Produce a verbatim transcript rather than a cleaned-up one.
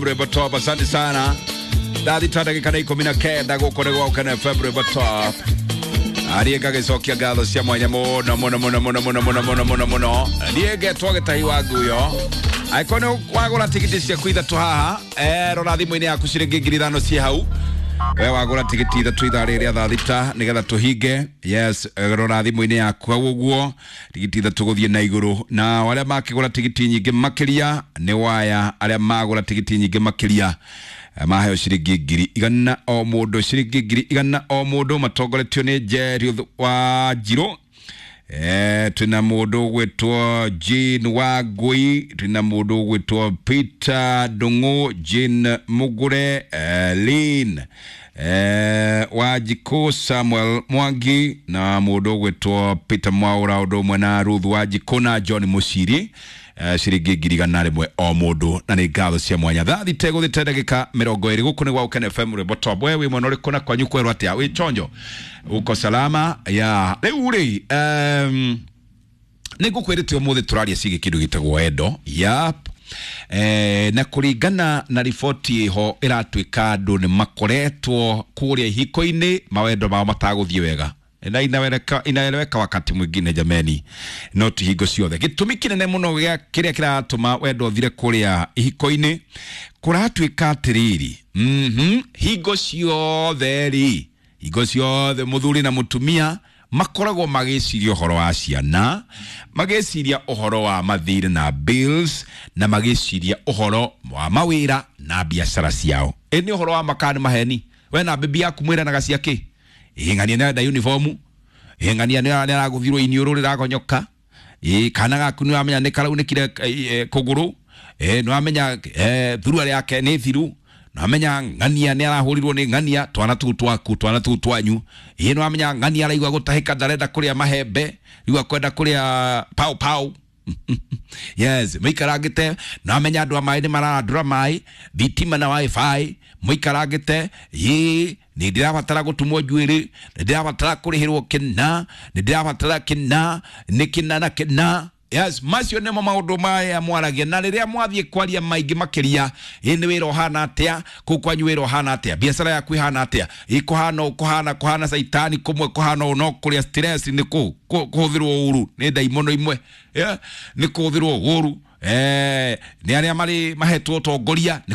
Rwimbo Top, asante sana. Thaa thita ndagĩka nĩ ikũmi na kenda gũkũ nĩ gwa Ũkene F M Rwimbo Top. Ariĩ ngagĩcokia ngatho cia mwanya mũno mũno mũno mũno mũno mũno mũno mũno mũno. Niĩ ngetwo Gĩtahi wa Nguyo. Angĩkorwo nĩ wagũra tigiti ciaku ithatũ haha, eh, rora thimũ-inĩ yaku ciringi ngiri ithano ciĩ hau. We wagũra tigiti ithatũ ithaa rĩrĩ rĩa thaa thita nĩgetha tũhinge. Yes, rora thimũ-inĩ yaku hau ũguo tigiti ithatũ gũthiĩ na igũrũ. Na arĩa makĩgũra tigiti nyingĩ makĩria nĩ waya, arĩa magũra tigiti nyingĩ makĩria maheo ciringi ngiri igana o mũndũ, ciringi ngiri igana o mũndũ, matongoretio nĩ Jerry wa Njirũ. Eh, twina mũndũ ũgwĩtwo Jane Wangui, twina mũndũ ũgwĩtwo Peter Ndung'u, Jane Mugure, eh, Lynn eh, Wanjikũ, Samuel Mwangi na mũndũ ũgwĩtwo Peter Mwaura, ũndũ ũmwe na Ruth Wanjikũ na John Mũciri. Eh, ciringi ngiri igana rĩmwe o mũndũ, na nĩ ngatho cia mwanya. Thaa thita ĩgũthĩte ndagĩka mĩrongo ĩrĩ gũkũ nĩ gwa Ũkene F M Rwimbo Top. We wĩ mwena ũrĩkũ na kwanyu kwerwo atĩa? Wĩ chonjo? Uko salama? Ya rĩu rĩ, um, nĩ ngũkwĩrĩte ũmũthĩ tũraria ciĩgiĩ kĩndũ gĩtagwo endo. Yap. Eh, na kũringana na riboti ĩho ĩratuĩka andũ nĩ makoretwo kũrĩa ihiko-inĩ mawendo mao matagũthiĩ wega. Na inaweleka, inaeleweka wakati mwingine jameni, no ti hingo ciothe. Gĩtũmi kĩnene mũno gĩa kĩrĩa kĩratũma wendo ũthire kũrĩa ihiko-inĩ kũratuĩka atĩrĩrĩ, mhm, hingo ciothe rĩ, hingo ciothe mũthuri na mũtumia makoragwo magĩciria ũhoro wa ciana, magĩciria ũhoro wa mathirĩ na bills, na magĩciria ũhoro wa mawĩra na biacara ciao. Ĩ nĩ ũhoro wa makani maheni. We na bibi yaku mwĩranaga cia kĩ? Ĩ ng'ania nĩ arenda uniform, ĩ ng'ania nĩ aragũthirwo iniũrũ rĩragonyoka, ĩ kana gaku nĩ wamenya nĩ karaunĩkire, eh, kũgũrũ, ĩ nĩ wamenya, eh, thurua yake nĩ thiru, nĩ wamenya ng'ania nĩ arahũrirwo nĩ ng'ania, twana tũu twaku, twana tũu twanyu, ĩ nĩ wamenya ng'ania araigua gũtahĩka, ndarenda kũrĩa mahembe, rĩu akwenda kũrĩa pau pau. Yes, mũikarangĩte, nĩ wamenya andũ a maĩ nĩ mararandũra maĩ, thitima na wifi, mũikarangĩte, ĩ nĩ ndĩrabatara gũtumwo njuĩrĩ, nĩ ndĩrabatara kũrĩhĩrwo kĩna, nĩ ndĩrabatara kĩna, nĩ kĩna na kĩna. Yes, macio nĩmo maũndũ maya mwaragia, na rĩrĩa mwathiĩ kwaria maingĩ makĩria, ĩ nĩ wĩra ũhana atĩa, kũu kwanyu wĩra ũhana atĩa, biacara yaku ĩhana atĩa, ĩ kũhana ũũ, kũhana, kũhana caitani kũmwe, kũhana ũũ, no kũrĩa stress nĩ kũ, kũ, kũhũthĩrwo ũru nĩ ndaimono imwe, yeah, nĩ kũhũthĩrwo ũru, eh, nĩ arĩa marĩ mahetwo ũtongoria nĩ